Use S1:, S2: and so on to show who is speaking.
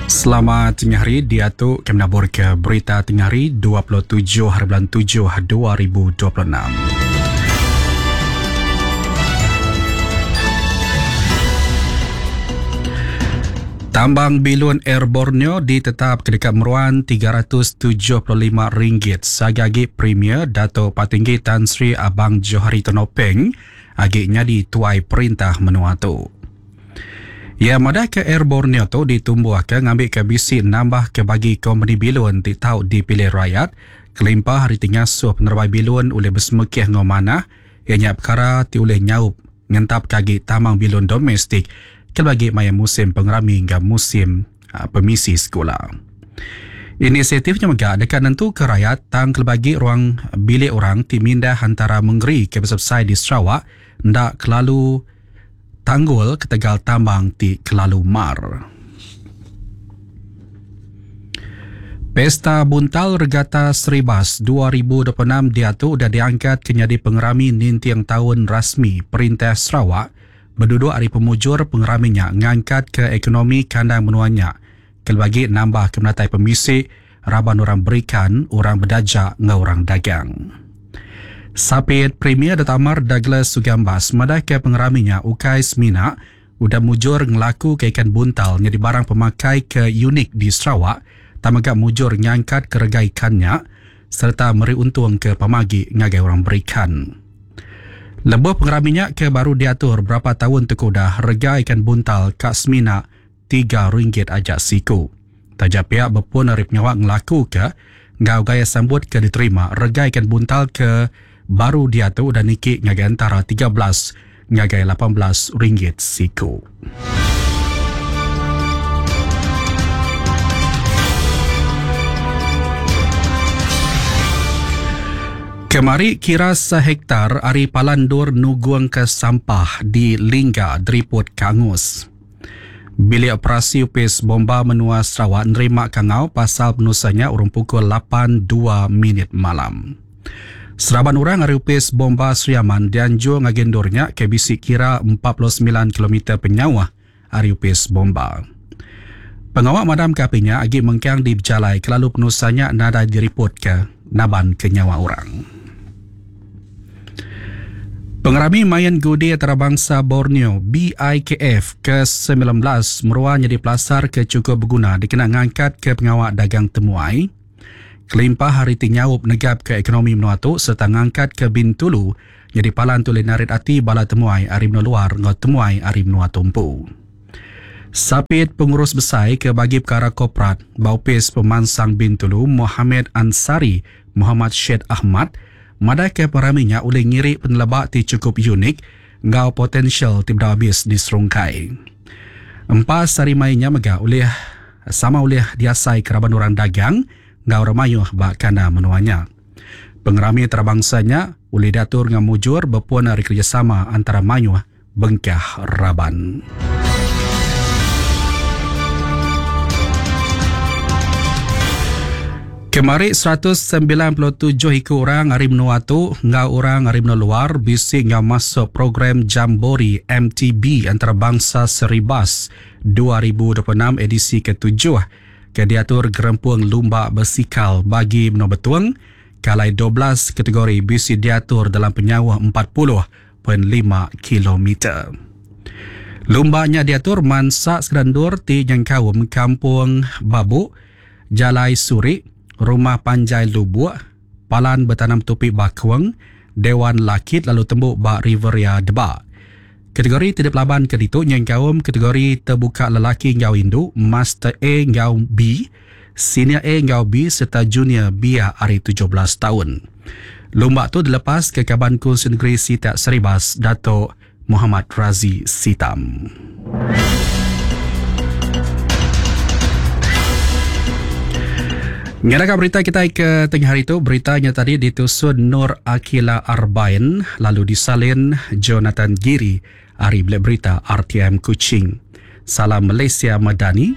S1: Selamat tengah hari diatu kami nabur ke berita tengah hari 27 hari bulan 7 2026. Tambang bilun Air Borneo ditetap ke deka meruan RM375 sagi-agi Premier Datuk Patinggi Tan Sri Abang Johari Tun Openg agi nyadi tuai perintah menua tu. Iya madahka Air Borneo tu ditumbuhka ngambika bisi nambahka bagi kompeni bilun ti tau dipilih rayat kelimpah ari ti ngasuh penerebai bilun ulih besemekih enggau manah iya nya pekara ti ulih nyaup ngentapka agi tambang bilun domestik kelebih agi maya musim pengerami enggau musim pemisi sekula. Inisiatif nya mega deka nentuka rayat tang kelebih agi ruang bilik orang ti mindah antara mengeri ke besai-besai di Sarawak enda kelalu tanggul ketegal tambang ti kelalu mar. Pesta Buntal Regata Seribas 2026 diatu udah diangkat ke nyadi pengerami ninting taun rasmi Perintah Sarawak beduduk ari pemujur pengerami nya ngangkatka ekonomi kandang menua nya kelebih agi nambahka penatai pemisi raban orang berikan, orang bedaja enggau orang dagang. Sapit Premier Datuk Amar Douglas Ugambas madahka pengerami nya ukai semina udah mujur ngelakuka ikan buntal nyadi barang pemakai ke unik di Sarawak tang mega mujur ngangkatka rega ikan nya sereta meri untung ke pemagi ngagai orang berikan. Lebuh pengerami nya ke baru diatur berapa taun tu ke udah rega ikan buntal ka semina RM3 aja siku. Taja pia bepun ari pengawa ngelakuka enggau gaya sambut ke diterima rega ikan buntal ke baru diatu udah niki ngagai entara 13 ngagai 18 ringgit siku. Kemari kira sehektar ari palan endur nugungka sampah di Lingga Deriput Kangus. Bilik Operasi Opis Bomba Menua Sarawak nerima kangau pasal penusah nya urung pukul lapan dua minit malam. Seraban orang ari Opis Bomba Sri Aman dianjung ngagai endur nya ke bisi kira 49 kilometer penyauh ari Opis Bomba. Pengawa madamka api nya agi mengkang dibejalai kelalu penusah nya nadai diripotka nabanka nyawa orang. Pengerami Main Gudi Antarabangsa Borneo, BIKF, ke 19 meruan nyadi pelasar ke chukup beguna dikena ngangkatka pengawa dagang temuai kelimpah ari ti nyaup negapka ekonomi menua tu sereta ngangkatka Bintulu nyadi palan ti ulih narit ati bala temuai ari menua luar enggau temuai ari menua tu empu. Sapit Pengurus Besai ke Bagi Pekara Korporat ba Opis Pemansang Bintulu Mohamed Ansari Mohamad Syed Ahmad madahka pengerami nya ulih ngiri peneleba ti chukup unik enggau potensial ti bedau abis diserungkai. Empas hari main nya mega ulih sama ulih diasaika raban orang dagang enggau orang mayuh ba kandang menua nya. Pengerami antarabangsa nya ulih diatur enggau mujur bepun ari kerejasama antara mayuh bengkah raban. Kemari 197 iku orang ari menua tu enggau orang ari menua luar bisi enggau masuk program Jambori MTB Antarabangsa Seribas 2026 edisi ketujuh ke diatur Gerempung Lumba Besikal Bagi Menua Betong ke alai 12 kategori bisi diatur dalam penyauh 40 pen lima kilometer. Lumba nya diatur mansa sekeda endur ti nyengkaum Kampung Babuk, Jalai Surik, Rumah Panjai Lubuk, Palan Betanam Tupi Bakung, Dewan Lakit lalu tembu ba Riveria Deba. Kategori ti dipelabanka ditu nyengkaum kategori tebuka lelaki enggau indu, Master A enggau B, Senior A enggau B sereta Junior biak ari 17 taun. Lumba tu dilepas ke Kaban Kunsil Negeri Sitak Saribas Dato Mohamad Razi Sitam. Ngaraka berita kitai ke tengah hari tu, berita nya tadi ditusun Nur Akila Arbain lalu disalin Jonathan Giri ari Bilik Berita RTM Kuching. Salam Malaysia Madani.